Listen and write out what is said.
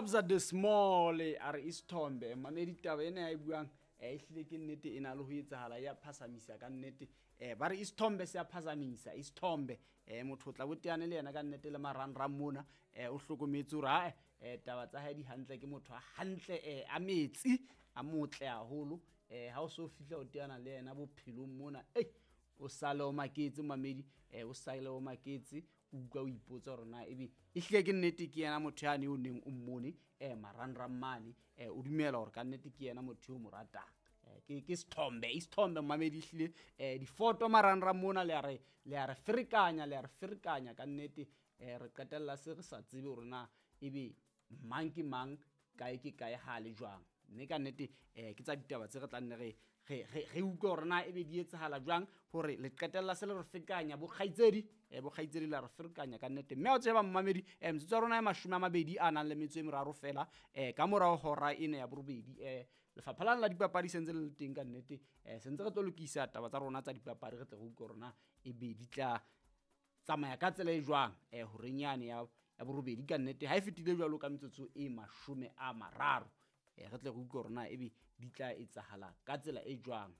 Kabza De Small a re isithombe. Mamedi, taba ena ya e buang e hlile ke nnete, e na le ho etsahala, ya phasamisa ka nnete. Ba re isithombe se a phasamisa isithombe. Motho o tla bo teane le yena ka nnete le marangrang mona, o hlokometse hore ae, taba tsa hae di hantle, ke motho a hantle, a metsi a motle haholo. Ha o so fihla o teana le yena bophelong mona, ei, o sale o maketse mamedi, o sale o maketse, o utlwa o ipotsa hore na ebe e hlile ke nnete ke yena motho yane o neng o mmone marangrang mane, o dumela hore ka nnete ke yena motho eo mo ratang. Ke sethombe, isithombe mamedi, ehlile difoto marangrang mona le a re, le a re ferekanya, le a re ferekanya ka nnete. Re qetella se re sa tsebe hore na ebe mang ke mang, kae ke kae, ha le jwang. Mme ka nnete ke tsa ditaba tse re tla nne re re utlwe hore na ebe di etsahala jwang, hore le qetella se le re fekanya bokgaitsedi, bokgaitsedi la re ferekanya ka nnete. Mme ha o tseba mamedi, metsotso ya rona e 23 a nang le metso e meraro fela, ka morao hora ena ya borobedi, lefapha lana la dipapadi sentse le le teng ka nnete. Sentse re tlo lokisa taba tsa rona tsa dipapadi, re tle re utlwe hore na ebe di tla tsamaya ka tsela e jwang, horeng yane ya borobedi ka nnete. Ha e fetile jwalo ka metsotso e 30, re tle re utlwe hore na ebe di tla etsahala ka tsela e jwang.